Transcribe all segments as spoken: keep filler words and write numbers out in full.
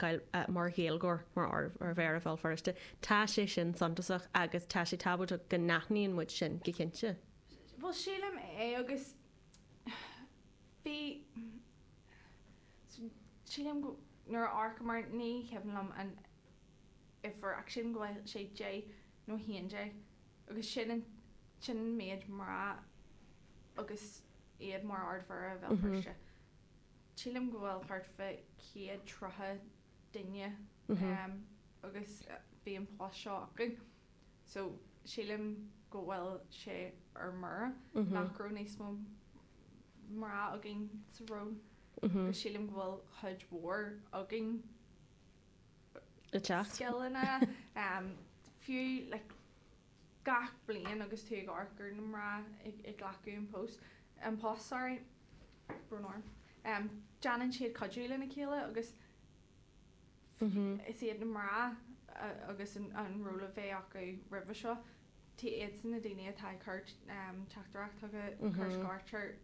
fheiceáil mar Ghaeilgeoir mar Ard-Mhéara Bhéal Feirste. Tá sé sin suntasach agus tá sé tábhachtach go n-aithníonn muid sin go cinnte. Well sílim é agus bhí sílim go nuair a amharcamar ní cuimhin liom an uimhir ach sílim go bhfuil sé deich nó haon déag agus sin an sin an méid mná agus iad mar Ard-Mhéara Bhéal Feirste. Sílim go bhfuil thart fá céad tríocha duine um, agus bhí an post seo acu. So sílim go bhfuil sé ar mire nach raibh níos mó mná againn sa ról. Agus sílim go bhfuil cuid mhór againn Le teacht. scileanna um, fiú like, gach bliain agus tú ag amharc ar na mná ag, ag glacadh an post an post sorry brón orm. Um, déanann siad cuidiú lena chéile agus is iad na mná agus an, an ról a bheith acu roimhe seo tá iadsan na daoine atá ag cur um, teachtaireacht chucu cur scairtear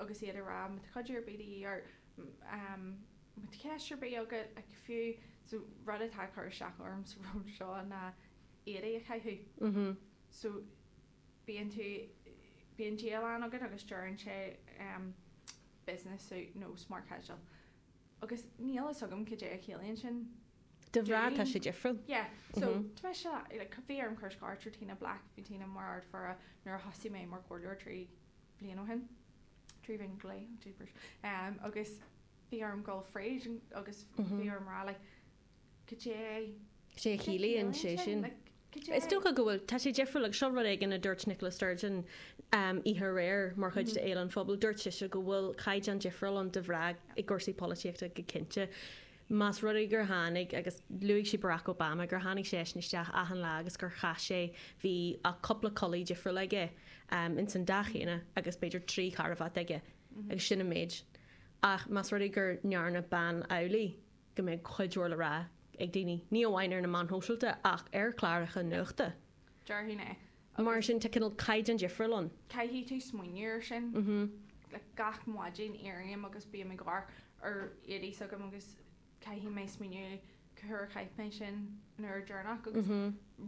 agus iad a rá má tá cuidiú ar bith de dhíth ort um, má tá ceist ar bith agat like, fiú so rud atá ag cur isteach orm sa ról seo ná éadaí a chaitheamh. So bíonn tú bíonn dialann agat agus deireann sé um, business suit nó smart casual. Agus níl a fhios agam cad é a chiallaíonn sin. Do mhná tá sé difriúil. Yeah, so tá sé like, bhí orm cur scairt ar Tina Black bhí Tina mar Ard-Mhéara nuair a thosaigh mé mar chomhairleoir trí bhliain ó shin. Trí bhliain go leith, jeepers. Um, agus bhí orm dul fríd agus bhí orm rá like, cad é Sé a chiallaíonn sé sin. Is dócha go bhfuil tá sé difriúil ag seo rud éigin a dúirt Nicola Sturgeon um, oíche aréir mar chuid de Fhéile an Phobail dúirt sise go bhfuil caighdeán difriúil ann do mhná i gcúrsaí polaitíochta go cinnte. Más rud é gur tháinig agus luaigh sí Barack Obama gur tháinig sé sin isteach achan lá agus gur chaith sé bhí a cúpla culaith difriúil aige um, in san dath céanna agus b'fhéidir trí charbhat aige agus sin an méid. Ach más rud é gur ndearna bean amhlaidh go mbeidh cuid mhór le rá ag daoine ní amháin ar na meáin shóisialta ach ar chláracha nuachta. Déarfainn é. Mar sin tá cineál caighdeán difriúil ann. Caithfidh tú smaoineamh ar sin. Mhm. Like, gach maidin éirím agus bím ag amharc ar éadaí s'agam agus caithfidh mé smaoineamh cá huair a chaith mé sin nuair deireanach agus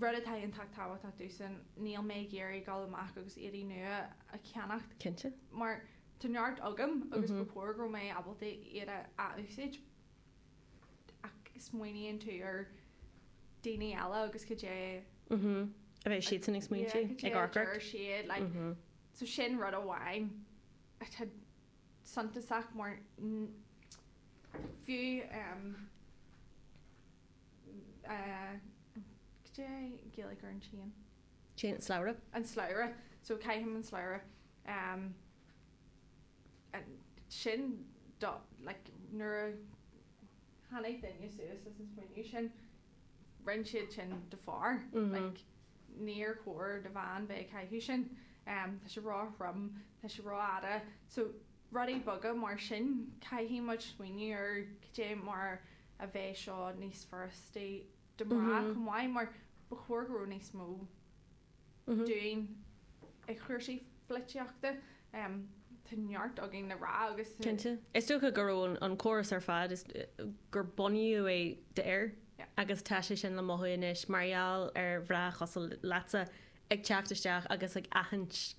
rud atá iontach tábhachtach domhsa níl mé ag iarraidh dul amach agus éadaí nua a cheannacht Cinnte. mar tá neart agam agus ba chóir go raibh mé ábalta iad a úsáid ach smaoiníonn tú ar daoine eile agus cad é Mhm. A bheith siad san ag smaointiú ag amharc ort. siad like, so sin rud amháin atá suntasach mar n- fiú um, uh, cad é Gaeilge ar an chain Chain slabhra. an slabhra so caithim an slabhra um, and sin do like nuair a tháinig duine suas leis an smaoineamh sin rinne siad sin do fear Mhm. like níor chóir do bhean bheith ag caitheamh sin um, tá sé ró-throm tá sé rófhada so rudaí beaga mar sin caithfidh muid smaoineamh ar cad é mar a bheidh seo níos furasta do mná Mhm. chomh maith mar ba chóir go raibh níos mó Mhm. dúinn ag cúrsaí polaitíochta um, tá neart againn le rá agus Cinnte. Is dócha go raibh an, an córas ar fad is gur bunaíodh é d'fhir Yeah. agus tá sé sin le mothú anois mar gheall ar mhná cosúil leatsa ag teacht isteach agus ag aithint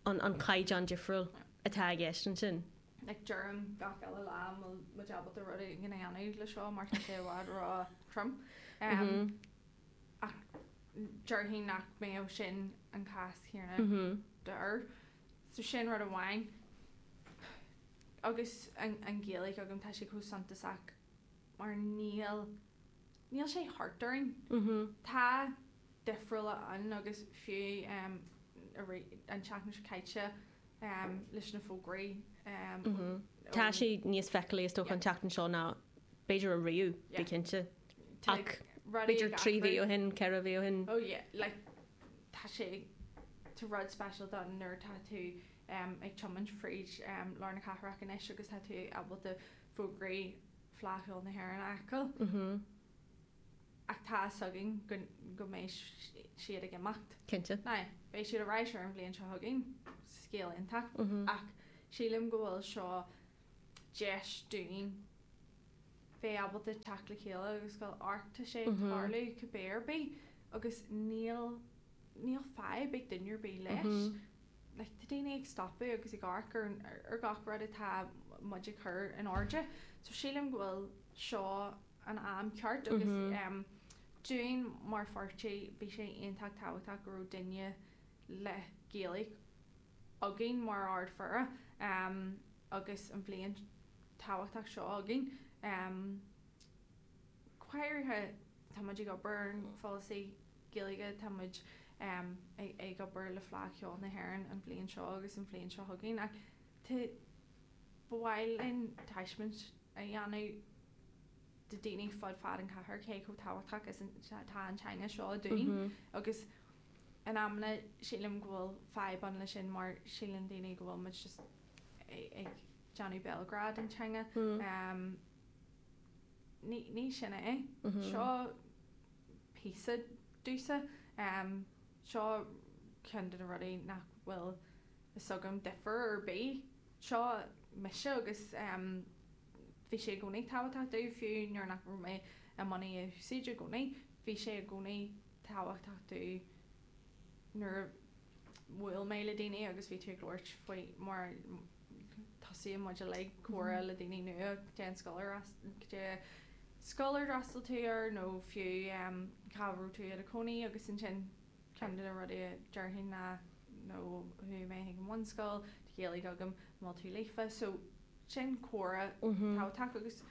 an, an caighdeán difriúil atá i gceist ansin. like deirim gach eile lá bhfuil muid ábalta rud éigin a dhéanamh le seo mar tá sé i bhfad ró-throm. Um, Mhm. ach déarfainn nach mbeadh sin an cás céanna Mhm. d'fhir. So sin rud amháin. Agus an, an Ghaeilge agam tá sé chomh suntasach mar níl níl sé thart orainn. Mhm. Tá difriúla ann agus fiú um, an tseachtain seo caite um, leis na fógraí um, Mhm. Tá sé níos feiceálaí is dócha an tseachtain seo ná b'fhéidir ariamh Yeah. bí cinnte. Tá Ach rudaí b'fhéidir ag trí mhí athrú. ó shin, ceithre mhí ó shin. Oh yeah, like tá sé tá rud speisialta ann nuair tá tú um, ag tiomáint fríd um, lár na cathrach anois agus tá tú ábalta fógraí Fleadh Cheoil na hÉireann a fheiceáil. Mhm. Ach tá againn go, go mbeidh siad ag imeacht. Cinnte. Ná, beidh siad ar ais ar an bhliain seo chugainn scéal iontach Mhm. ach sílim go bhfuil seo deis dúinn bheith ábalta teacht le chéile agus go amharc tá sé ag tarlú cibé ar bith agus níl níl fadhb ag duine ar bith leis. Like, tá daoine ag stopadh agus ag amharc ar ar gach rud atá muid ag cur in airde. So sílim go bhfuil seo an am ceart agus um, dúinn mar pháirtí bhí sé iontach tábhachtach go raibh duine le Gaeilge againn mar Ard-Mhéara um, agus an bhliain tábhachtach seo againn. Um, go háirithe tá muid ag obair ar an pholasaí Gaeilge tá muid um, ag, ag obair le Fleadh Cheoil na hÉireann an bhliain seo agus an bhliain seo chugainn ach tá ba mhaith linn taispeáint a dhéanamh do daoine fud fad an chathair cé chomh tábhachtach is atá an teanga seo dúinn agus in amanna sílim go bhfuil fadhb ann leis sin mar síleann daoine go bhfuil muid just ag, ag déanamh béalghrá den teanga. Um, ní, ní sin é. Seo píosa domsa. Um, seo ceann de na rudaí nach bhfuil fhios agam difear ar bith. Seo mise agus um, bhí sé i gcónaí tábhachtach domh fiú nuair nach raibh mé i mbun í a úsáid i gcónaí. Bhí sé i gcónaí tábhachtach domh nuair a bhuail mé le daoine agus bhí tú ag labhairt faoi mar tosaíonn muid uilig comhrá le daoine nua cén scoil ar scoil ar fhreastail tú air nó fiú um, cá raibh tú i do chónaí agus ansin ceann de na rudaí a déarfainn ná nó chuaigh mé chuig an bhunscoil, tá Gaeilge agam, an bhfuil tú líofa, so sin comhrá tábhachtach agus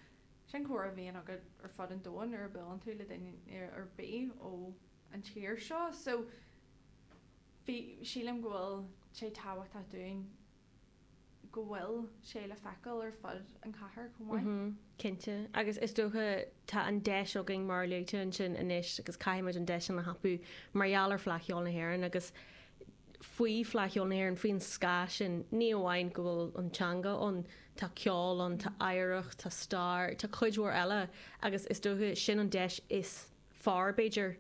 sin comhrá a bhíonn agat ar fud an domhain nuair a buaileann tú le duine ar bith ó an tír seo, so bhí sílim go bhfuil sé tábhachtach dúinn go bhfuil sé le feiceáil ar fud an chathair chomh maith. Cinnte agus is dócha tá an deis againn mar luaigh tú ansin anois agus caithfimid an deis sin a thapú mar gheall ar Fleadh Cheoil na hÉireann agus faoi Fleadh Cheoil na hÉireann faoin scáth sin ní amháin go bhfuil an teanga ann tá ceol ann tá oidhreacht tá stair tá cuid mhór eile agus is dócha sin an deis is fearr b'fhéidir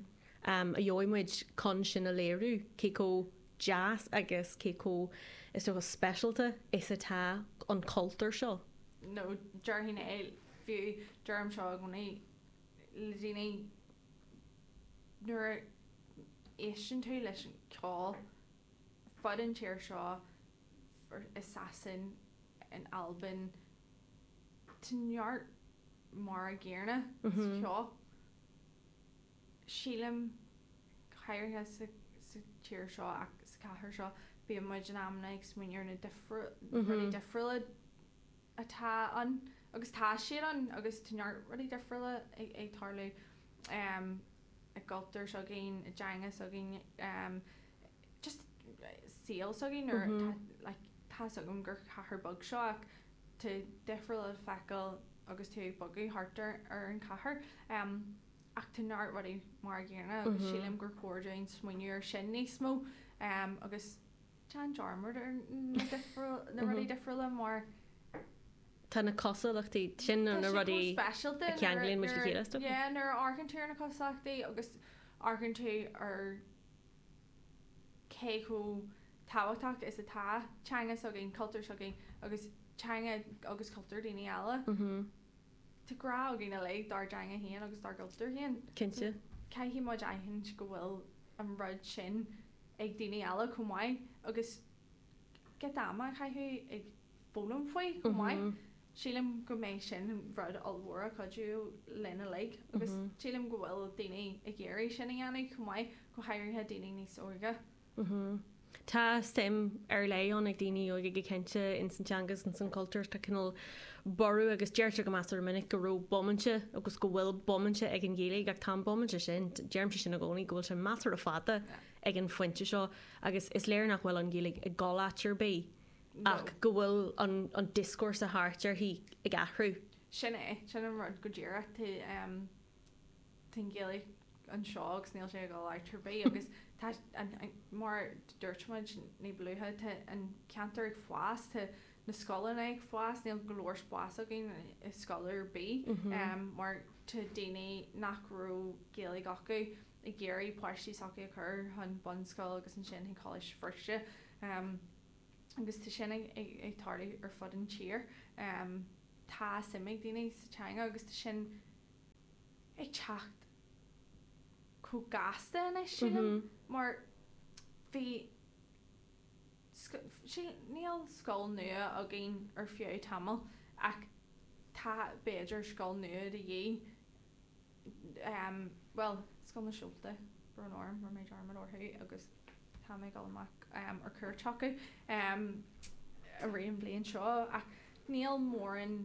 um, a gheobhaidh muid chun sin a léiriú cé chomh deas agus cé chomh is dócha speisialta is atá an cultúr seo. nó déarfainn é fiú deirim seo i gcónaí le daoine nuair a éisteann tú leis an ceol fud an tír seo i Sasain in Albain tá neart mar an gcéanna sa cheol. Sílim go háirithe sa sa tír seo ach sa chathair seo bíonn muid in amanna ag smaoineamh ar na difriú rudaí difriúla atá ann agus tá siad ann agus tá neart rudaí difriúla ag ag tarlú um, i gcultúr s'againn i dteanga s'againn um, just saol s'againn nuair tá like, tá agam gur cathair beag seo ach tá difriúil le feiceáil agus tú ag bogadh thart ar ar an chathair. Um, ach tá neart rudaí mar an gcéanna agus sílim gur chóir dúinn smaoineamh ar sin níos mó um, agus déan dearmad ar na difriúil na rudaí difriúla mar Tá na cosúlachtaí sin na Tá sé rudaí chomh speisialta a cheanglaíonn muid le nuair- chéile, is dócha. Yeah, nuair a amharcann tú ar na cosúlachtaí agus amharcann tú ar cé chomh tábhachtach is atá teanga s'againn, cultúr s'againn agus teanga agus cultúr daoine eile. Mhm. Tá grá againn uilig dár dteanga féin agus dár gcultúr féin. Cinnte. Caithfidh muid aithint go bhfuil an rud sin ag daoine eile chomh maith agus giota ama a chaitheamh ag foghlaim faoi chomh maith. Mhm. Sílim go mbeidh sin rud ollmhór a chuidiú linn uilig agus Mhm. sílim go bhfuil daoine ag iarraidh sin a dhéanamh chomh maith go háirithe daoine níos óige. Mhm. Tá suim ar leith ann ag daoine óga go cinnte in san teanga agus san cultúr tá cineál borradh agus deirtear go measartha minic go raibh bomainte agus go bhfuil bomainte ag an Ghaeilge ach tá an bomainte sin deirimse sin i gcónaí go bhfuil sé measartha fada ag an phointe seo agus is léir nach bhfuil an Ghaeilge ag dul áit ar bith ach go bhfuil an, an discourse thart uirthi ag athrú. Sin é sin an rud go díreach tá um, tá an Ghaeilge anseo agus níl sé ag dul áit ar bith agus tá an, an, mar dúirt muid ní ba luaithe tá an ceantar ag fás tá na scoileanna ag fás níl go leor spás againn i scoil ar bith um, mar tá daoine nach raibh Gaeilge acu ag iarraidh páistí s'acu a chur chun bunscoil agus ansin chuig Coláiste Feirste um, agus tá sin ag, ag, ag tarlú ar fud an tír um, Tá suim ag daoine sa teanga agus tá sin ag teacht chomh gasta anois sílim mar bhí níl scoil nua againn ar feadh tamaill ach tá b'fhéidir scoil nua de dhíth um, bhuel Scoil na Seolta brón orm rinne mé dearmad orthu agus tá mé ag dul amach um, ar cuairt chucu um, i rith an bhliain seo ach níl mórán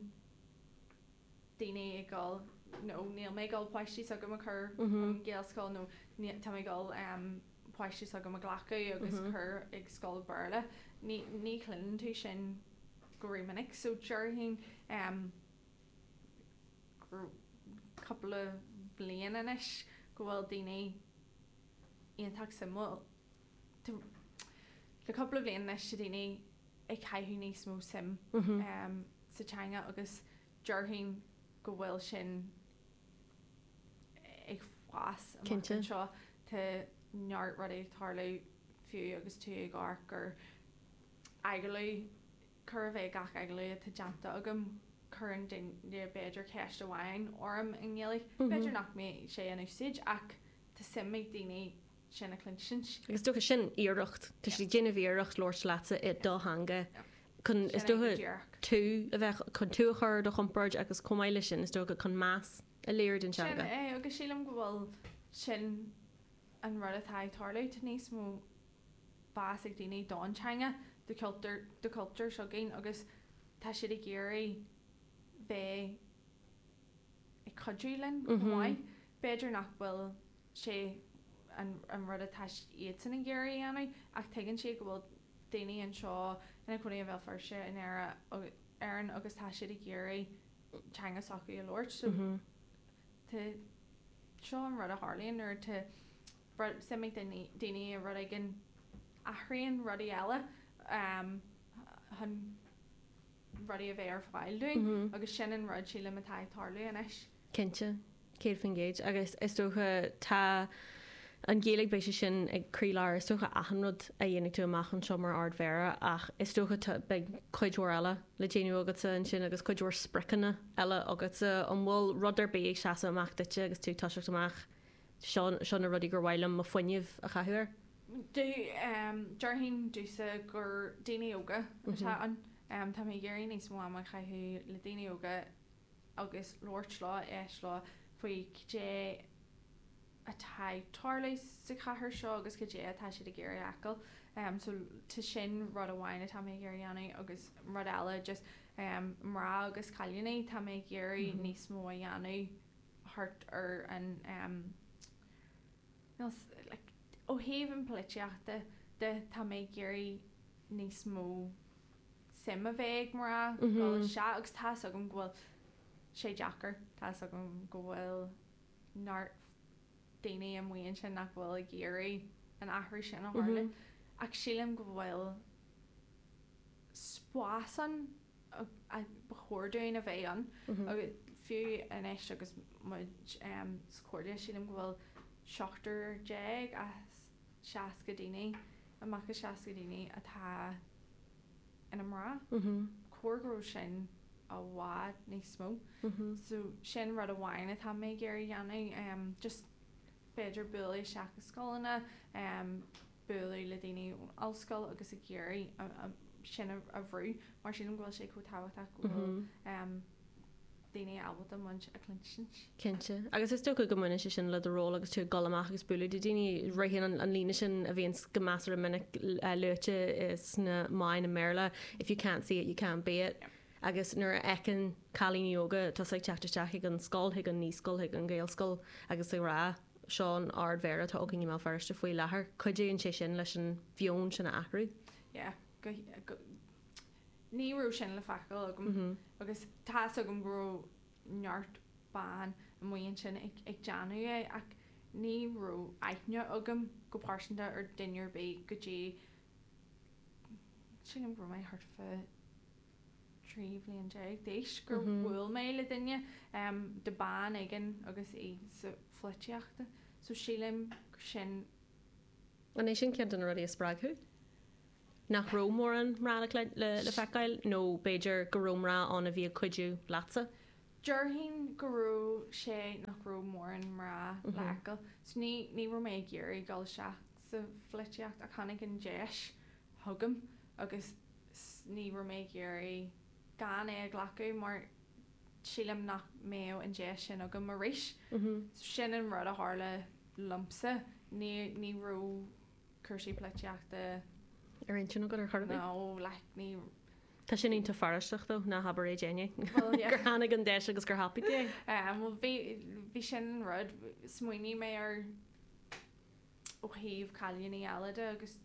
daoine ag dul nó níl mé ag dul páistí s'agam a chur an Ghaelscoil nó tá mé ag dul um, páistí s'agam a ghlacadh agus mm -hmm. cur ag scoil Béarla. Ní, ní chluineann tú sin go rómhinic, so déarfainn um, cúpla bliain anois go bhfuil daoine iontach suimiúil le cúpla bliain anois tá daoine ag caitheamh níos mó suim mm -hmm. um, sa teanga agus déarfainn go bhfuil sin ag fás Cinnte. anseo tá neart rudaí ag tarlú fiú agus tú ag amharc gur agallamh chóir a bheith gach agallamh atá déanta agam cuireann duine b'fhéidir ceist amháin orm i nGaeilge. B'fhéidir nach mbeidh sé in úsáid ach tá suim ag daoine sin a chluinstin. Agus dócha sin iarracht Tá siad ag déanamh iarracht labhairt leatsa i do theanga chun is Sin é dócha go díreach. tú a bheith chun tú a chur ar do chompord agus chomh maith leis sin is dócha chun meas a léiriú don Sin teanga. é agus sílim go bhfuil sin an rud atá ag tarlú tá níos mó meas ag daoine don teanga do cultúr do cultúr s'againn agus tá siad ag iarraidh bheith ag cuidiú linn chomh Mhm. maith. B'fhéidir nach bhfuil sé an, an rud atá iadsan ag iarraidh a dhéanamh ach tuigeann siad go bhfuil daoine anseo ina gcónaí i Bhéal Feirste in Éire agus Éirinn agus tá siad ag iarraidh teanga s'acu a labhairt so Mhm. tá seo an rud a tharlaíonn nuair tá rud- suim ag daoine daoine i rud éigin athraíonn rudaí eile um, chun rudaí a bheith ar fáil dúinn Mhm. agus sin an rud sílim atá ag tarlú anois. Cinnte céad faoin gcéad agus is dócha tá an Ghaeilge beidh sé sin ag croílár is dócha achan rud a dhéanfaidh tú amach anseo mar ardmhéara ach is dócha tá- beidh cuid mhór eile le déanamh agatsa ansin agus cuid mhór spriocanna eile agatsa an bhfuil rud ar bith ag seasamh amach duitse agus tú ag toiseacht amach seo seo na rudaí gur mhaith liom mo fuinneamh a chaitheamh air. Do um, déarfainn domhsa gur daoine óga atá ann um, tá mé ag iarraidh níos mó ama a chaitheamh le daoine óga agus labhairt leo éisteacht leo faoi cad é atá ag tarlú sa chathair seo agus cad é atá siad ag iarraidh a fheiceáil. Um, so tá sin rud amháin atá mé ag iarraidh dhéanamh agus rud eile just um, mná agus cailíní tá mé ag iarraidh Mhm. níos mó a dhéanamh thart ar an um, níl s- like, ó thaobh an polaitíochta de tá mé ag iarraidh níos mó suim a bheith ag mná Mhm. dul isteach agus tá a fhios agam go bhfuil sé deacair tá a fhios agam go bhfuil neart daoine amuigh ansin nach bhfuil ag iarraidh an athrú sin a tharlú Mhm. ach sílim go bhfuil spás ann a a ba chóir dúinn a bheith ann Mhm. agus fiú anois agus muid um, sa chomhairle sílim go bhfuil seachtar déag as seasca daoine amach as seasca daoine atá ina mná Mhm. chóir go raibh sin i bhfad níos mó Mhm. so sin rud amháin atá mé ag iarraidh dhéanamh um, just b'fhéidir bualadh isteach i scoileanna um, bualadh le daoine ón ollscoil agus ag iarraidh a- a- sin a, a bhrú mar sílim go bhfuil sé chomh tábhachtach go bhfuil Mhm. um, daoine ábalta muid a chluinstin. Cinnte. Agus is dócha go mbaineann sé sin le do ról agus tú ag dul amach agus bualadh le daoine ritheann an, an líne sin a bhíonn go measartha minic uh, luaite sna meáin i mBéarla if you can't see it you can't be it. Agus nuair a fheiceann cailíní óga tá ag teacht isteach chuig an scoil chuig an naíscoil chuig an Ghaelscoil agus ag rá seo an ardmhéara atá againn i mBéal Feirste faoi láthair. Cuidíonn sé sin leis an mheon sin a athrú. Yeah, go, go, ní raibh sin le feiceáil agam Mm -hmm. agus tá a fhios agam go raibh neart ban amuigh ansin ag, ag déanamh é ach ní raibh aithne agam go pearsanta ar duine ar bith go dtí sílim go raibh mé thart fá trí bhliain déag d'aois gur Mhm. bhuail mé le duine um, de bean éigin agus í sa pholaitíocht. So sílim gur sin An é sin ceann de na rudaí a spreag thú? nach raibh mórán mná le le le feiceáil nó b'fhéidir go raibh mná ann a bhí ag cuidiú leatsa? Déarfainn go raibh sé nach raibh mórán mná le feiceáil. So ní ní raibh mé ag iarraidh dul isteach sa pholaitíocht ach tháinig an deis chugam agus ní raibh mé ag iarraidh gan é a ghlacadh mar sílim nach mbeadh an deis sin agam arís. So sin an rud a tharla liomsa. Ní ní raibh cúrsaí polaitíochta ar intinn agat ar chor ar bith? No, like ní Tá sin iontach fearastach though, ná habair é d'éinne. Well, yeah. Gur tháinig an deis agus gur thapaigh tú é. Um, well bhí bhí sin an rud, smaoinigh mé ar ó thaobh cailíní eile de agus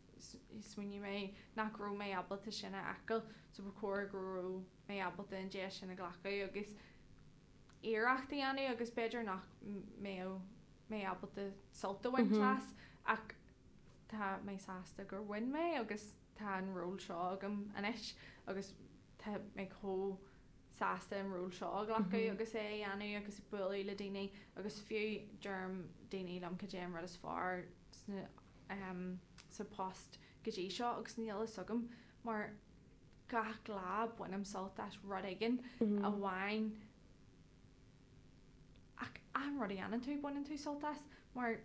smaoinigh mé nach raibh mé ábalta sin a fheiceáil, so ba chóir go raibh mé ábalta an deis sin a ghlacadh agus iarracht a dhéanamh agus b'fhéidir nach mbeadh mé ábalta sult a bhaint as ach tá mé sásta gur bhain mé agus tá an ról seo agam anois agus tá mé chomh sásta an ról seo a ghlacadh agus é a dhéanamh agus bualadh le daoine agus fiú deireann daoine liom cad é an rud is fearr sna um, sa post go dtí seo agus níl a fhios agam mar gach lá bainim sult as rud éigin amháin ach an rud a dhéanann tú baineann tú sult as mar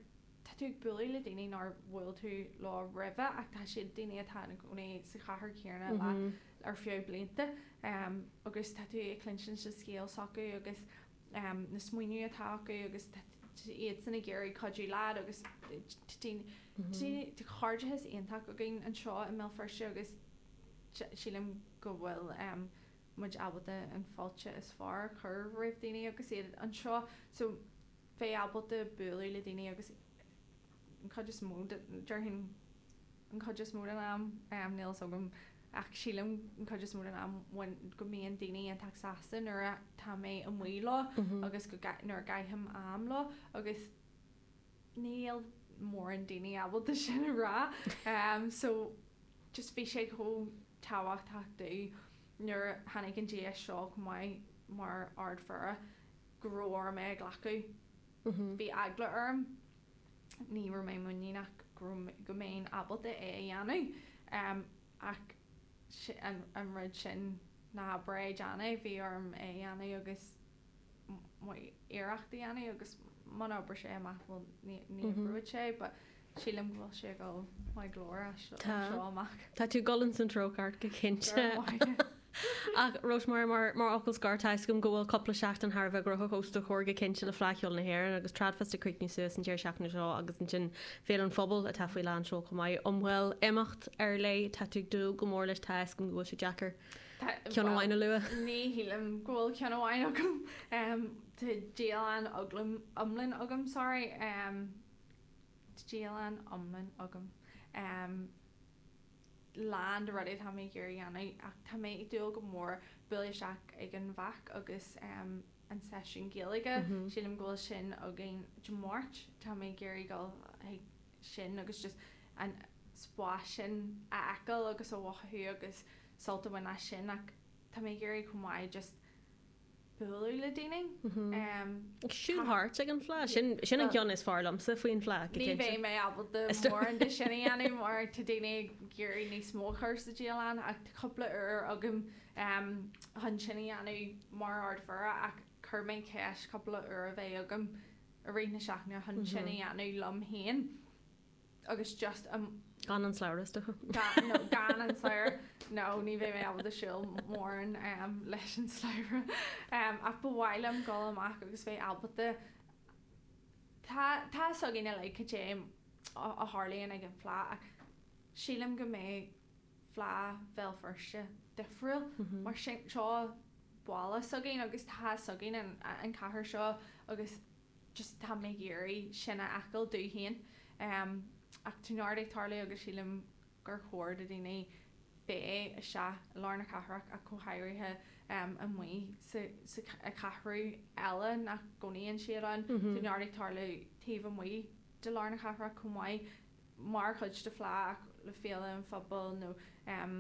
tá tú ag bualadh le daoine nár bhuail tú leo roimhe ach tá siad daoine atá ina gcónaí sa chathair chéanna le ar feadh blianta um, agus tá tú ag cluinstin sa scéal s'acu agus um, na smaoineamh atá acu agus iad san ag iarraidh cuidiú leat agus tá cairdeas iontach againn anseo i mBéal Feirste agus sílim go bhfuil um, muid ábalta an fáilte is fearr a chur roimh daoine agus iad anseo so bheith ábalta bualadh le daoine agus an chuid is mó déarfainn an chuid is mó den am um, níl a fhios agam ach sílim an chuid is mó den am go mbíonn daoine iontach sásta nuair atá mé amuigh leo agus go nuair a gcaithim am leo agus níl mórán daoine ábalta sin a rá um, so just bhí sé chomh tábhachtach domh nuair a tháinig an deis seo chomh maith mar ardmhéara go raibh orm é a ghlacadh. Bhí eagla orm ní raibh mé muiníneach go go mbeinn ábalta é a dhéanamh um, ach an, an rud sin ná bre déanamh bhí orm é a dhéanamh agus iarracht a dhéanamh agus muna oibreoidh sé amach bhuel ní ní oibreoidh sé but sílim go bhfuil sé go maith go leor as seo amach. Tá tú ag dul san treo ceart go cinnte. Ach Rosemary mar mar fhocal scoir tá a fhios agam go bhfuil cúpla seachtain thar a bheith gnóthach os do chomhair go cinnte le Fleadh Cheoil na hÉireann agus Tradfest ag críochnú suas an deireadh seachtaine seo agus ansin Féile an Phobail atá faoi lán seoil chomh maith. An bhfuil imeacht ar leith tá tú ag dúil go mór leis tá a fhios agam go bhfuil sé deacair ceann amháin a lua. Ní shílim go bhfuil ceann amháin agam um, Tá dialann iomlán agam sorry um, dialann iomlán agam. Um, lán de rudaí tá mé ag iarraidh a dhéanamh ach tá mé ag dúil go mór bualadh isteach ag an bhFeach agus um, an seisiún Gaeilge mm -hmm. sílim go bhfuil sin againn Dé Máirt tá mé ag iarraidh dul chuig sin agus just an spás sin a fheiceáil agus a mhothú agus sult a bhaint as sin ach tá mé ag iarraidh chomh maith just bualadh le daoine. Um, Ag siúl thart ag an Fleadh sin sin an ceann is fearr liomsa faoin Fleadh go Ní cinnte. bheidh mé ábalta Is do- mórán de sin a dhéanamh mar tá daoine ag iarraidh níos mó a chur sa dialann ach tá cúpla uair agam um, chun sin a dhéanamh mar ardmhéara ach chuir mé ceist cúpla uair a bheith agam i rith na seachtaine chun sin a dhéanamh liom féin agus just um, Gan an slabhra is dócha. gan, no, gan an slabhra no ní bheidh mé ábalta siúl mórán um, leis an slabhra um, ach ba mhaith liom dul amach agus bheith ábalta tá tá a fhios againn uilig cad é a a tharlaíonn ag an Fleadh ach sílim go mbeidh Fleadh Bhéal Feirste difriúil mar sin seo baile s'againn agus tá a fhios againn an, an cathair seo agus just tá mé ag iarraidh sin a fheiceáil domh féin um, ach tá neart ag tarlú agus sílim gur chóir do daoine bheith isteach i lár na cathrach ach go háirithe um, amuigh sa, sa cheathrú eile nach gcónaíonn siad ann Tá neart ag tarlú taobh amuigh de lár na cathrach chomh maith mar chuid de Fleadh ach le Féile an Phobail nó um,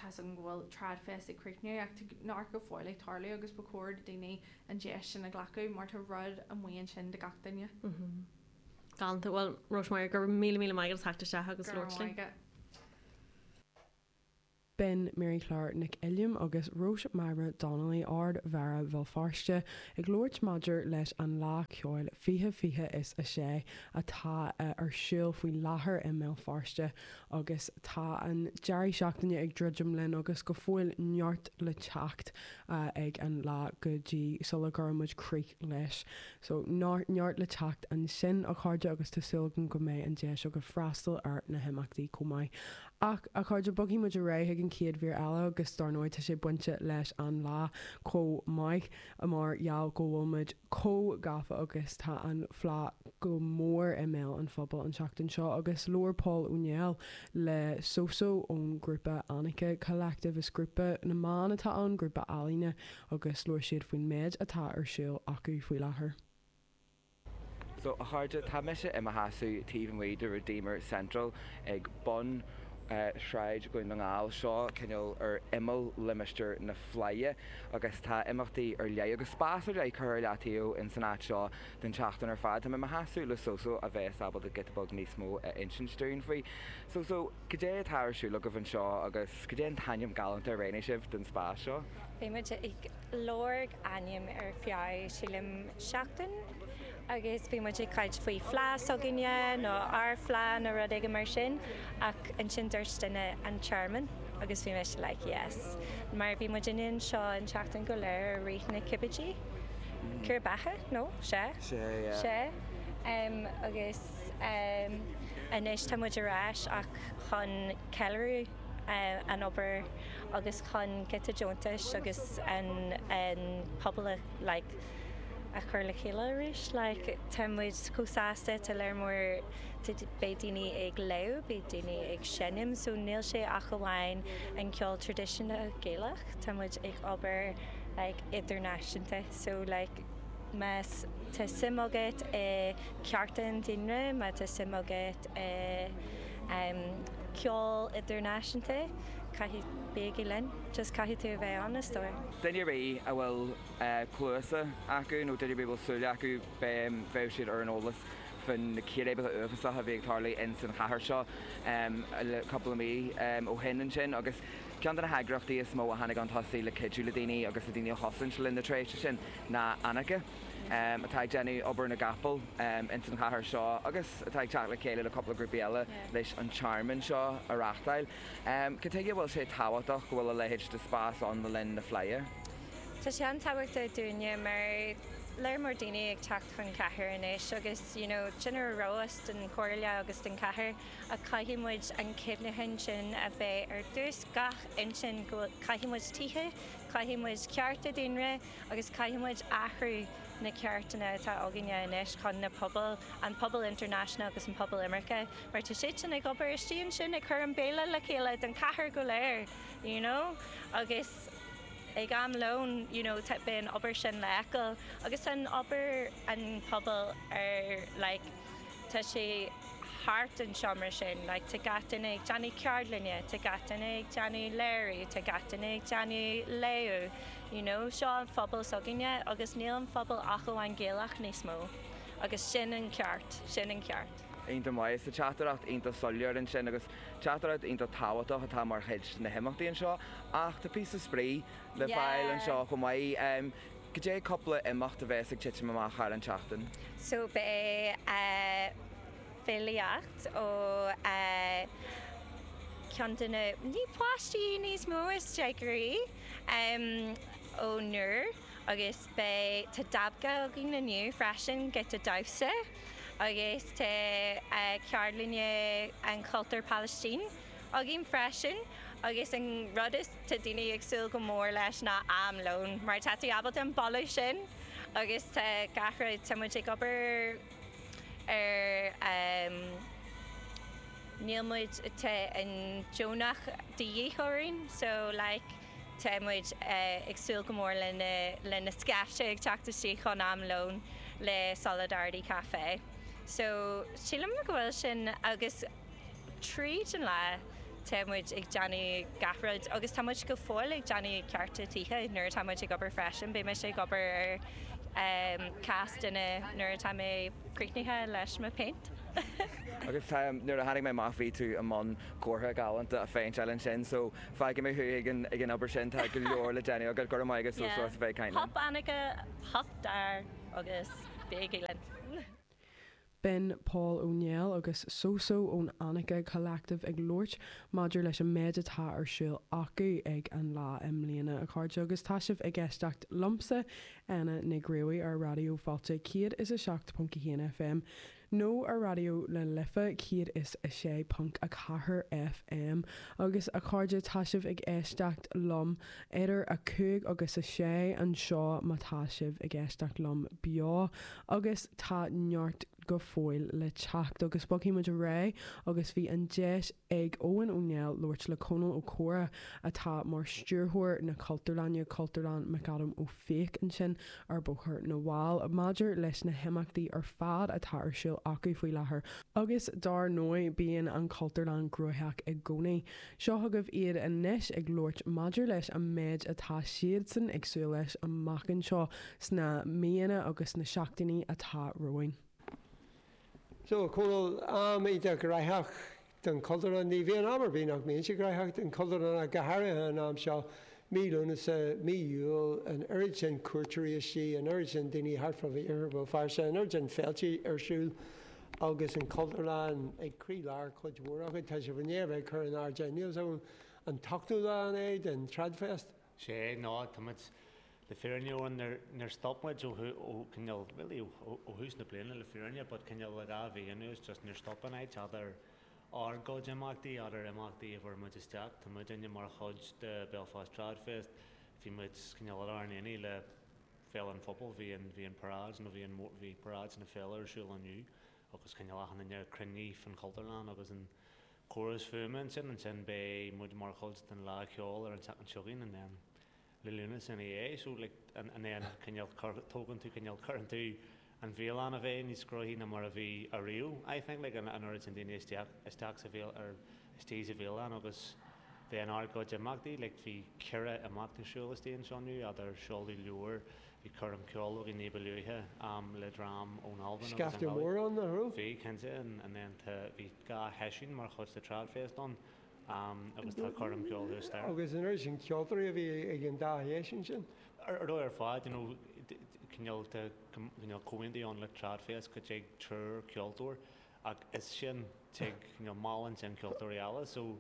tá an go bhfuil Tradfest ag críochnú ach tá neart go fóill ag tarlú agus ba chóir do daoine an deis sin a ghlacadh mar tá rud amuigh ansin do gach duine. Galánta bhuel Rosemary go raibh míle míle maith agat as teacht isteach agus Go raibh labhairt linn. maith agat. B'in Mary Claire Nic Uilliam agus Róis Máire Donnelly Ard-Mhéara Bhéal Feirste ag labhairt maidir leis an Lá Ceoil fiche fiche is a sé atá ar siúl faoi láthair i mBéal Feirste agus tá an deireadh seachtaine ag druidim linn agus go fóill neart le teacht ag an lá go dtí sula gcuireann muid críoch leis. So neart le teacht ansin a chairde agus tá súil agam go mbeidh an deis agaibh freastal ar na himeachtaí chomh maith. Ach a chairde bogfaidh muid ar aghaidh ag an chéad mhír eile agus dar ndóigh tá sé bainte leis an lá chomh maith mar gheall go bhfuil muid chomh gafa agus tá an Fleadh go mór i mbéal an phobail an tseachtain seo agus labhair Paul Ó Néill le Soso ón grúpa Annika Collective is grúpa na mban atá ann grúpa ealaíne agus labhair siad faoin méid atá ar siúl acu faoi láthair. So a chairde tá mise i mo sheasamh taobh amuigh de Redeemer Central ag bun Shráid Dhún na nGall seo cineál ar imeall limistéar na Fleidhe agus tá imeachtaí ar leith agus spás ar leith curtha ar leataobh in san áit seo don tseachtain ar fad. Tá mé i mo sheasamh le Soso a bheas ábalta giota beag níos mó a insint dúinn faoi. Soso, cad é atá ar siúl agaibh anseo agus cad é an t-ainm galánta a roghnaigh sibh don spás seo? Bhí muid ag lorg ainm ar feadh sílim seachtain agus bhí muid ag caint faoi Fleadh s'againne nó ár bhFleadh nó rud éigin mar sin ach ansin dúirt duine an tearmann agus bhí mise like yes mar bhí muid in anseo an tseachtain go léir i rith na cibidí. Cur beatha nó sé Sé yeah. sé um, agus um, anois tá muid ar ais ach chun ceiliúradh uh, an obair agus chun giota deontais agus an, an pobal like, a chur le chéile arís like, tá muid chomh sásta tá léir mór beidh daoine ag léamh, beidh daoine ag seinm, so níl sé ach amháin an ceol traidisiúnta Gaelach, Tá muid ag obair like, idirnáisiúnta, so like, más tá suim agat i cearta an duine, má tá suim agat i um, ceol idirnáisiúnta, caithfidh bígí linn, just caithfidh tú a bheith ann is dóigh. Duine ar bith a bhfuil cluasa acu nó duine ar bith a bhfuil súile acu bheadh siad ar an eolas faoin na círéibeacha uafásacha a bhí ag tarlú in san chathair seo le cúpla mí ó shin ansin agus ceann de na heagraíochtaí is mó a tháinig chun tosaigh le cuidiú le daoine agus le daoine a chosaint le linn na tréimhse sin ná Annika atá ag déanamh obair na gcapall in san chathair seo agus atá ag teacht le chéile le cúpla grúpaí eile leis an tearmann seo a reáchtáil. Cad chuige a bhfuil sé tábhachtach go bhfuil a leithéid de spás ann le linn na Fleidhe? Tá sé an-tábhachtach dúinne mar léir mór daoine ag teacht chun cathair anois agus you know, sin ar rós den chomhairle agus den chathair a caithfidh muid an cuimhneachán sin a bheith ar dtús gach intinn go caithfidh muid tithe, caithfidh muid cearta daonra agus caithfidh muid athrú na ceartanna atá againne anois chun na pobal an pobal international agus an pobal imirce, mar tá siad sin ag obair istigh ansin ag cur an béile le chéile den chathair go léir, you know? agus ag am lón you know, beidh an obair sin le feiceáil agus an obair an pobal ar like, tá sé thart an seomra sin, like, tá gach duine ag déanamh ceardlainne, tá gach duine ag déanamh léiriú, tá gach duine ag déanamh léamh, you know, seo an phobal s'againne agus níl an phobal ach amháin Gaelach níos mó. Agus sin an ceart, sin an ceart. Iontach maith sa teachtaireacht iontach soiléir ansin agus teachtaireacht iontach tábhachtach atá mar chuid na himeachtaí anseo ach tá píosa spraoi le fáil anseo chomh maith. Cad é cúpla imeacht a bheas ag titim amach thar an tseachtain? So beidh uh, filíocht ó uh, ceann de na ní páistí níos mó is déagóirí um, ó Nuair agus beidh tá dabka againn inniu freisin giota damhsa agus tá uh, ceardlainne an cultúr Palestine againn freisin agus an rud is tá daoine ag súil go mór leis ná am lón mar tá tú ábalta an boladh sin agus tá gach rud tá muid ag obair ar um, níl muid tá an deonach de dhíth orainn so like tá muid uh, ag súil go mór lena lena scaifte ag teacht isteach chun am lón le Solidarity Cafe. So sílim go bhfuil sin agus tríd an lá tá muid ag déanamh gach rud agus tá muid go fóill ag déanamh cearta tithe nuair atá muid ag obair freisin, beidh mise ag obair ar um, cás duine nuair atá mé críochnaithe leis mo péint. Agus nuair a tháinig mé amach bhí tú i mbun comhartha galánta a phéinteáil ansin so fágfaidh mé thú ag an ag an obair sin tá go leor le déanamh agat go raibh maith agat so so as a bheith ag caint linn. Hup Annika, hup dar agus bígí linn. B'in Paul Ó Néill agus Soso ón Annika Collective ag labhairt maidir leis an méid atá ar siúl acu ag an lá i mbliana a chairde agus tá sibh ag éisteacht liomsa Anna Nic Ruairí ar Raidió Fáilte céad is a seacht ponc a haon FM nó ar Raidió na Life céad is a sé ponc a ceathair FM agus a chairde tá sibh ag éisteacht liom idir a cúig agus a sé anseo má tá sibh ag éisteacht liom beo agus tá neart go fóill le teacht agus bogfaidh muid ar aghaidh agus bhí an deis ag Eoin Ó Néill labhairt le Conall Ó Córa atá mar stiúrthóir na Cultúrlainne Cultúrlann McAdam Ó Fiaich ansin ar Bhóthar na bhFál maidir leis na himeachtaí ar fad atá ar siúl acu faoi láthair agus dar ndóigh bíonn an Cultúrlann gnóthach i gcónaí. Seo chugaibh iad anois ag labhairt maidir leis an méid atá siadsan ag súil leis amach anseo sna míonna agus na seachtainí atá romhainn. So Conall am iontach gnóthach don Chultúrlann ní bhíonn am ar bith nach mbíonn sé gnóthach don Chultúrlann go háirithe an am seo mí Lúnasa mí Iúil an oiread sin cuairteoirí istigh an oiread sin daoine thart fá iarthar Bhéal Feirste an oiread sin féilte ar siúl agus an Cultúrlann ag croílár cuid mhór acu tá sibh i ndiaidh a bheith ag cur in airde níl so an t-ochtú lá an é den Tradfest. Sé ná táimid le fírinne nuair nuair stop muid ó ó cineál really ó thús na bliana le fírinne, but cineál le dhá mhí anuas just níor stop an áit idir ár gcuid imeachtaí idir imeachtaí a bhfuair muid isteach tá muid mar chuid de Belfast Tradfest bhí muid cineál ar ár n-éiní le Féile an Phobail bhí an bhí an paráid nó bhí an bhí paráid na féile ar siúl inniu agus cineál achan duine cruinnithe fan Chultúrlann agus an córas fuaime ansin ansin beidh muid mar chuid den lá ceoil ar an tseachtain seo chugainn and then le Lúnasa ina dhiaidh so like an an then cineál tógann tú cineál cuireann tú an bhialann a bheith níos gnóthaí ná mar a bhí ariamh I think like an an oiread sin daoine isteach isteach sa bhéal ar istigh sa bhialann agus bheith in ár gcuid imeachtaí like bhí ceithre imeacht ar siúl istigh anseo inniu idir seoladh leabhar bhí coirm ceoil againn ní ba luaithe um, le dream ón Albain agus an Scaifte Ghaillimh. mór ann nach raibh? Bhí cinnte and, and then tá bhí dhá sheisiún mar chuid de Tradfest ann um, agus tá coirm ceoil thuas there. Agus an oiread sin ceoltóirí a bhí ag an dá sheisiún sin. Ar ar dóigh ar fad, you know, d- d- cineál tá cineál comhaontú ann le Tradfest go dtig triúr ceoltóir ach is sin tig cineál meallann sin ceoltóirí eile so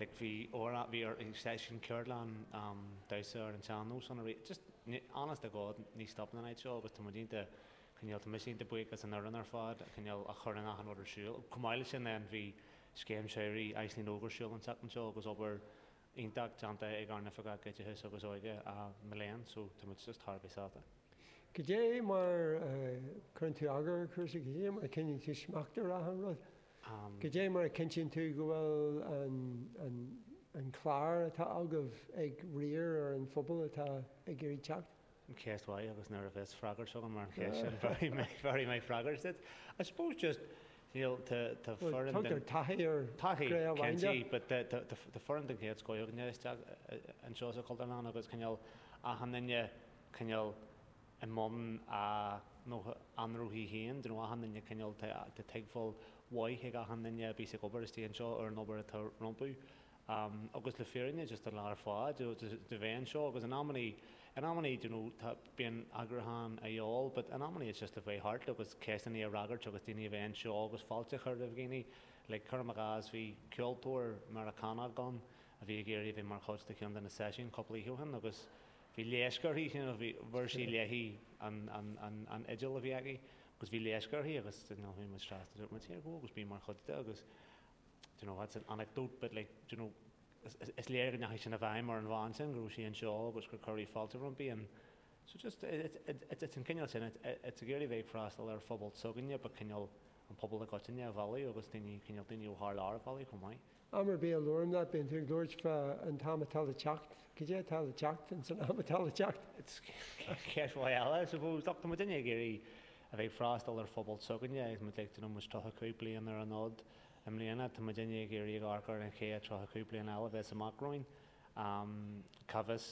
like bhí óra bhí ar seisiún ceardlann um, damhsa ar an sean-nós ann arís just ní- honest to God ní stopann an áit seo agus tá muid iontach cineál tá mise iontach buíoch as an fhoireann ar fad cineál a chuireann achan rud ar siúl. Chomh maith leis sin then bhí scéim samhraidh Iceland Óg ar siúl an tseachtain seo agus obair iontach déanta ag ár n-oifigeach oideachais agus óige a Miléan, so tá muid just thar a bheith sásta. Cad é mar uh, cuireann tú eagar ar chúrsaí, cad é mar a chinntíonn tú smacht ar achan rud. Um, Cad é mar a chinntíonn tú go bhfuil an, an, an clár atá agaibh ag riar ar an phobal atá ag iarraidh teacht? Ceist mhaith agus nuair a bheas freagairt agam mar an cheist sin very maith very maith freagairt duit. I suppose just you know, tá tá Well, foireann Tugtar den taithí ar taithí Gré cinnte, Wanda. but tá tá tá foireann den chéad scoth againne isteach anseo sa Chultúrlann agus cineál achan duine cineál i mbun a nó anrúthaí féin, nó achan duine cineál tá tá tuigbheáil mhaith ag achan duine a bhí ag obair istigh anseo ar an obair atá rompu. Um, agus le fírinne just an lá ar fad de de bheith anseo agus in amannaí in amannaí you know, tá bíonn eagrúchán a dhíobháil, but in amannaí it's just a bheith thart agus ceisteanna a fhreagairt agus daoine a bheith anseo agus fáilte a chur roimh dhaoine. Like cuirim i gcás bhí ceoltóir Meiriceánach ann a bhí ag iarraidh bheith mar chuid de cheann de na seisiúin cúpla oíche ó shin agus bhí leisce uirthi you know, bhí bhfuair sí léi an, an, an, an fhidil a bhí aici agus bhí leisce uirthi agus you know, bhí muid trasna dúirt muid here go agus bí mar chuid de agus you know, that's an anecdote but like you know, is, is, is léir go ndeachaigh sin i bhfeidhm ar an bhean sin go raibh sí anseo agus gur cuireadh fáilte roimpi and so just it, it, it, it's an cineál sin it, it's ag iarraidh bheith ag freastal ar phobal s'againne but cineál an pobal i gcoitinne a mhealladh agus daoine cineál daoine ó thar lear a mhealladh chomh maith. Am ar bith a labhraím leat bíonn tú ag labhairt fá an t-am atá le teacht. Cad é atá le teacht in san am atá le teacht? It's ceist mhaith eile, I suppose. Tá muid ag iarraidh a bheith ag freastal ar phobal s'againne agus muid like, you know, muid tríocha cúig bliain ar an fhód i mbliana, tá muid ag iarraidh ag amharc ar an chéad tríocha cúig bliain eile a bheas amach romhainn. Um, Cá bhfios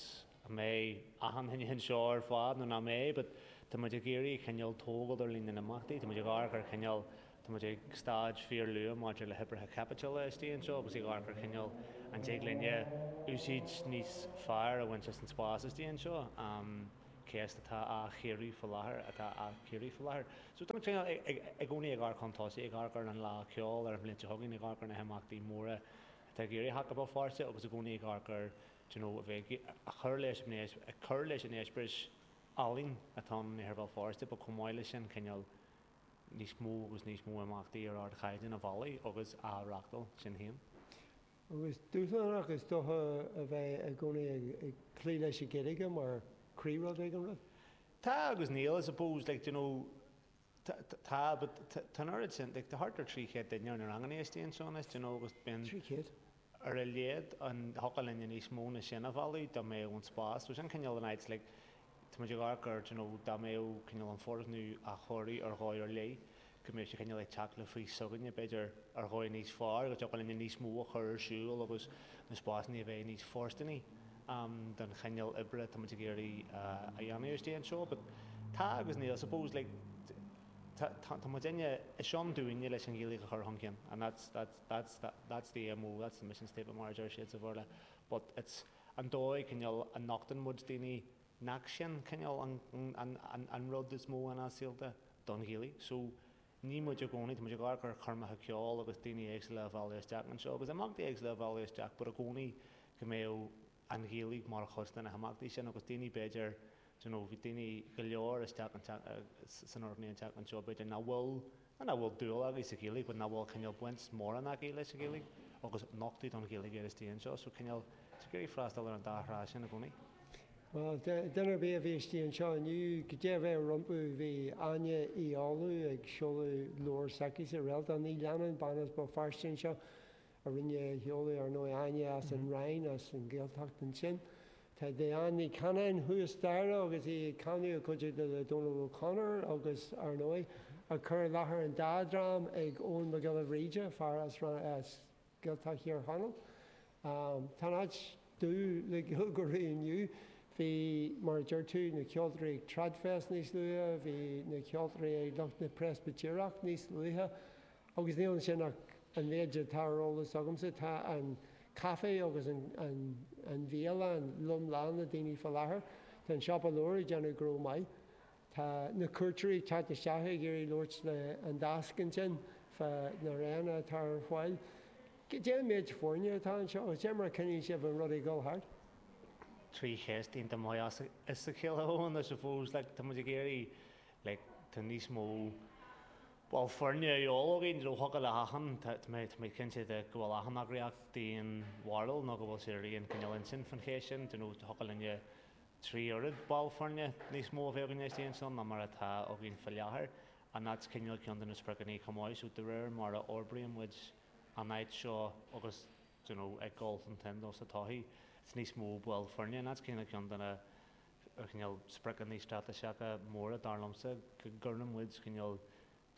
an mbeidh achan duine anseo ar fad nó nach mbeidh, but tá muid ag iarraidh cineál tógáil ar líon na n-imeachtaí, tá muid ag amharc ar chineál, tá muid ag staid fíorluath maidir le hoibrithe caipitiúla istigh anseo agus ag amharc ar chineál an dtig linne úsáid níos fearr a bhaint as an spás istigh anseo, ceist atá á chíoradh faoi láthair, atá á cíoradh faoi láthair. So tá muid cineál i gcónaí ag amharc chun tosaigh, ag amharc ar an Lá Ceoil ar an bhliain seo chugainn, ag amharc ar na himeachtaí móra atá ag iarraidh theacht go Béal Feirste agus i gcónaí ag amharc ar, do you know, a bheith ag cur leis an, ag cur leis an eispéireas ealaíon atá ann in Iarthar Bhéal Feirste, but chomh maith leis sin cineál níos mó agus níos mó imeachtaí ar ardchaighdeán a mhealladh agus á reáchtáil sin féin. Agus dúshlánach is dócha a bheith i gcónaí ag cloí leis an Ghaeilge mar chroí-rud ag an rud? Tá agus níl, I suppose, like, do you know, tá, but tá an oiread sin, like, tá thart ar trí chéad duine ar na ranganna istigh anseo anois, do you know, agus bíonn, Trí chéad? ar a laghad an thiocfadh linne níos mó ná sin a mhealladh dá mbeadh an spás. So sin cineál an áit like tá muid ag amharc ar do you know dá mbeadh cineál an foirgneamh á chóiriú ar dhóigh ar leith go mbeadh sé cineál ag teacht le fís s'againne b'fhéidir ar dhóigh níos fearr go dtiocfadh linne níos mó a chur ar siúl agus na spásanna a bheith níos fóirsteanaí um don chineál oibre atá muid ag iarraidh a dhéanamh istigh anseo. But tá agus níl I suppose like Tá, tá muidinne, is ann dúinne leis an Ghaeilge a chur chun cinn and that's, that's, that's, that's the MO, that's the mission statement mar a deir siad sa Bhéarla but it's an dóigh cineál a nochtann muid daoine nach sin cineál an, an, an, an rud is mó ina saolta don Ghaeilge. So ní muid i gcónaí, tá muid ag amharc ar choirmeacha ceoil agus daoine éagsúla a mhealladh isteach anseo agus imeachtaí éagsúla a mhealladh isteach but i gcónaí go mbeadh an Ghaeilge mar chuid de na himeachtaí sin agus daoine b'fhéidir do you know, bhí daoine go leor isteach san fhoirgneamh an tseachtain seo, b'fhéidir, nach bhfuil, not nach bhfuil dúil acu sa Ghaeilge, but nach bhfuil cineál baint mórán acu leis an Ghaeilge agus nochtadh don Ghaeilge iad istigh anseo. So cineál, tá ag iarraidh freastal ar an dá thrá sin i gcónaí. Bhuel, duine ar bith a bhí istigh anseo inniu, goidé a bheadh rompu, bhí Áine Uí Fhoghlú ag seoladh leabhar s'aici, Réaltán Ní Leannáin, bean as Béal Feirste anseo, a rinne a sheoladh, ar ndóigh, Áine as an Rinn, as an Ghaeltacht ansin. Tá Diane Ní Chanainn thuas staighre agus í ag canadh i gcuideachta le Dónal O'Connor agus, ar ndóigh, ag cur i láthair an dá dhream ag Eoin Mac Giolla Bhríde, fear as Gaeltacht Thír Chonaill. Tá an áit dubh le Gaeilgeoirí inniu. Bhí, mar a deir tú, na ceoltóirí ag Tradfest níos luaithe, bhí na ceoltóirí ag lucht na Preispitéireach níos luaithe. Agus níl ansin ach an méid atá ar eolas agamsa. Tá an caife agus an bhialann lom lán le daoine faoi láthair. Tá an siopa leabhar ag déanamh gnó maith. Tá na cuairteoirí ag teacht isteach ag iarraidh labhairt le an deasc ansin fá na roghanna atá ar fáil. Cad é an méid foirne atá anseo agus cé mar a choinníonn sibh an rud ag dul thart? Trí cheist iontach maith as a chéile, Eoin, I suppose. Like, tá muid ag iarraidh, like, tá níos mó ball foirne a dhíobháil againn, you know, thiocfadh le hachan, tá mé, tá mé cinnte de go bhfuil achan eagraíocht d'aon bharúil nó go bhfuil siad ar aon chineál intinn faoin cheist sin, you know, thiocfadh linne trí oiread ball foirne níos mó a bheith againn istigh ansin ná mar atá againn faoi láthair and that's cineál ceann de na spriocanna chomh maith, so de réir mar a fhorbraíonn muid an áit seo agus, you know, ag dul chun cinn sa todhchaí, it's níos mó ball foirne and that's cineál ceann de na cineál spriocanna straitéiseacha móra dar liomsa, go gcuireann muid cineál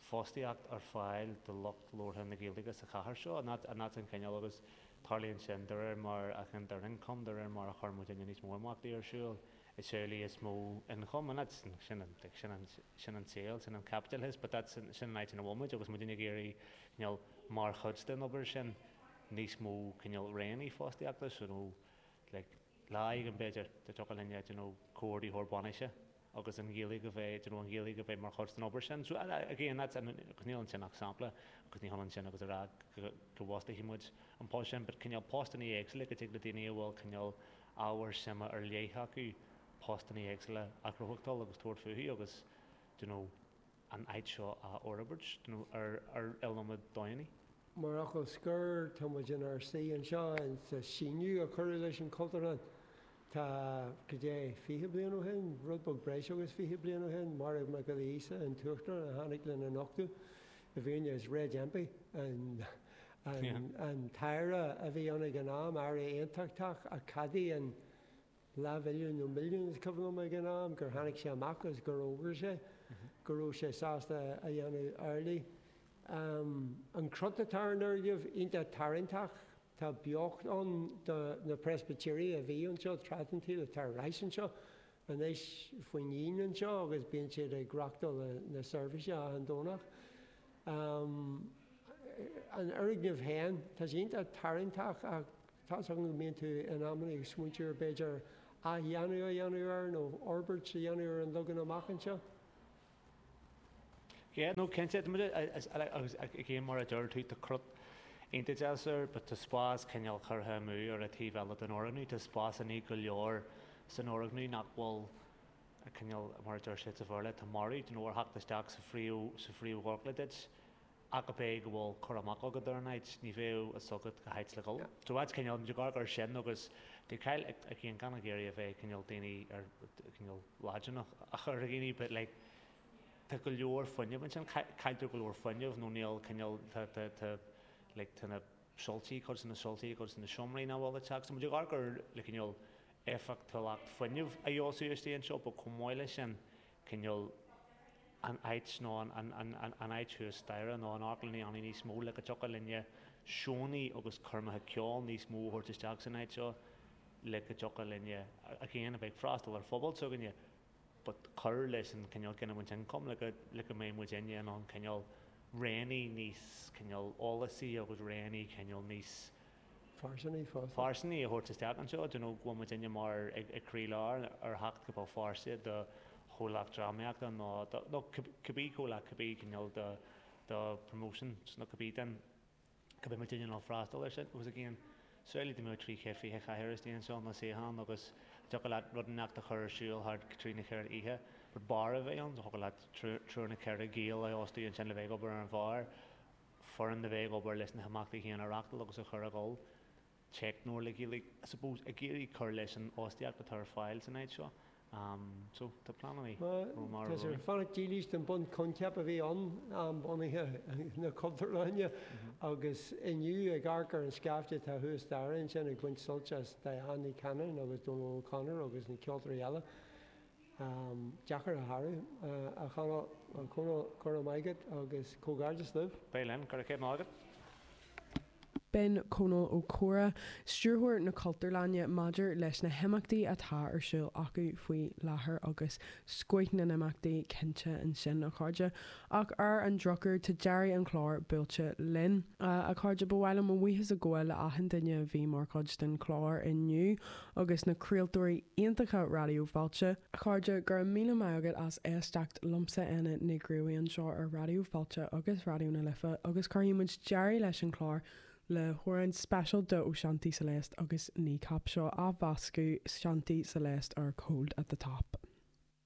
fostaíocht ar fáil do lucht labhartha na Gaeilge sa chathair seo and that's an cineál agus tarlaíonn sin de réir mar a ghintear ioncam, de réir mar a chuireann muidinne níos mó imeachtaí ar siúl, is amhlaidh is mó ioncam and that's sin an sin an sin an saol, sin an caipitleachas but that's sin an áit ina bhfuil muid agus muidinne ag iarraidh cineál mar chuid den obair sin níos mó cineál roghanna fostaíochta so nó like lá éigin b'fhéidir dá dtiocfadh linne you know comhordaitheoir bainise agus an Ghaeilge a bheith you know an Ghaeilge a bheith mar chuid den obair sin. So again that's agus níl ansin ach sampla agus ní hionann sin agus a rá go go bhfostóidh muid an post sin but cineál postanna éagsúla go dtig le daoine a bhfuil cineál ábhar suime ar leith acu postanna éagsúla a ghnóthachtáil agus tabhairt fúthu agus you know an áit seo a fhorbairt you know ar ar iliomad dóigheanna. Mar fhocal scoir, tá muid inár suí anseo sa síneadh a cuireadh leis an Chultúrlann. Tá, cad é, fiche bliain ó shin, rud beag breis agus fiche bliain ó shin, Máire Mhic Giolla Íosa, an tUachtarán, a tháinig lena nochtadh. I bhfírinne, is Reg Empey an an t-aire a bhí ann ag an am, aire aontachtach, a cheadaigh an leathmhilliún nó milliún, is cuimhin liom ag an am, gur tháinig sé amach agus gur fhógair sé go raibh sé sásta a dhéanamh amhlaidh. An crot atá ar an fhoirgneamh, iontach tarraingteach. Tá beocht ann do na Preispitéirigh a bhí anseo tráth den tsaol, atá ar ais anseo anois faoin dhíon anseo agus bíonn siad ag reáchtáil na seirbhíse achan Domhnach. An fhoirgneamh féin, tá sé iontach tarraingteach ach tá's agam go mbíonn tú in amanna ag smaointiú ar b'fhéidir athdhéanamh a dhéanamh air nó fhorbairt a dhéanamh ar an leagan amach anseo. Yeah, no, cinnte, tá muid agus again mar a deir tú, tá crot iontach deas air, but tá spás cineál curtha amú ar an taobh eile den fhoirgneamh, tá spásanna go leor san fhoirgneamh nach bhfuil cineál, mar a deir siad sa Bhéarla, tá marbh, you know, ar theacht isteach sa phríomh, sa phríomhdhorchla duit, ach ab é go bhfuil cur amach agat ar an áit, ní bheadh a fhios agat cá háit le dhul. So that's cineál, muid ag amharc air sin agus tá Kyle again gan ag iarraidh a bheith cineál daoine ar cineál laidineach a chur ar dhaoine but like tá go leor fuinneamh ansin, cailltear go leor fuinneamh nó níl cineál tá tá tá like tá na soilsí, cuid de na soilsí, cuid de na seomraí nach bhfuil ag teacht. So muid ag amharc ar le cineál éifeachtúlacht fuinnimh a fheabhsú istigh anseo but chomh maith leis sin cineál an áit nó an áit thuas staighre nó an amharclann a dhéanamh níos mó le go dtiocfadh linne seónna agus coirmeacha ceoil níos mó a thabhairt isteach san áit seo le go dtiocfadh linne again a bheith ag freastal ar phobal s'againne but cur leis an cineál giniúint ioncaim le go le go mbeidh muidinne in ann cineál roghanna níos cineál eolasaí agus roghanna cineál níos Fairsinge fosta. Fairsinge a thabhairt isteach anseo, do you know, go bhfuil muidinne mar ag ag croílár ar theacht go Béal Feirste do chomhlacht drámaíochta nó do nó cibé comhlacht, cibé cineál do do promotions nó cibé den go mbeidh muidinne in ann freastal air sin. Agus again, samhlaigh dá mbeadh trí chéad fiche cathaoir istigh anseo nó suíochán agus thiocfadh leat rud inteacht a chur ar siúl thart trí nó ceithre oíche, but beár a bheith ann, thiocfadh leat triúr nó ceithre Gael a fhostú ansin le bheith ag obair ar an bheár. foireann a bheith ag obair leis na himeachtaí féin a reáchtáil agus a chur ag dul, teicneoir le Gaeilge, I suppose, ag iarraidh cur leis an fhostaíocht atá ar fáil san áit seo. So, tá pleananna romhainn. Tá sibh ag fanacht dílis don bunchoincheap a bhí ann am bunaithe na Cultúrlainne agus inniu ag amharc ar an scaifte atá thuas staighre ansin ag baint sult as Diane Ní Chanainn agus Dónal O'Connor agus na ceoltóirí eile. Deacair a shárú, a Chonaill, a Chonaill, go raibh maith agat agus comhghairdeas libh. Beidh linn, go raibh céad maith agat. B'in Conall Ó Comhra, Stiúrthóir na Cultúrlainne maidir leis na himeachtaí atá ar siúl acu faoi láthair agus scoith na n-imeachtaí cinnte ansin, a chairde. Ach ar an drochuair, tá deireadh an chláir buailte linn. A chairde, ba mhaith liom mo bhuíochas a ghabháil le achan duine a bhí mar chuid den chlár inniu agus na craoltóirí iontacha Raidió Fáilte. A chairde, go raibh míle maith agat as éisteacht liomsa Éanna Ní Ghríobhaigh anseo ar Raidió Fáilte agus Raidió na Life agus cuirfidh muid deireadh leis an chlár le hamhrán speisialta ó Shanti Celeste agus Kneecap. Seo athmheascadh Shanti Celeste ar Cold at the Top.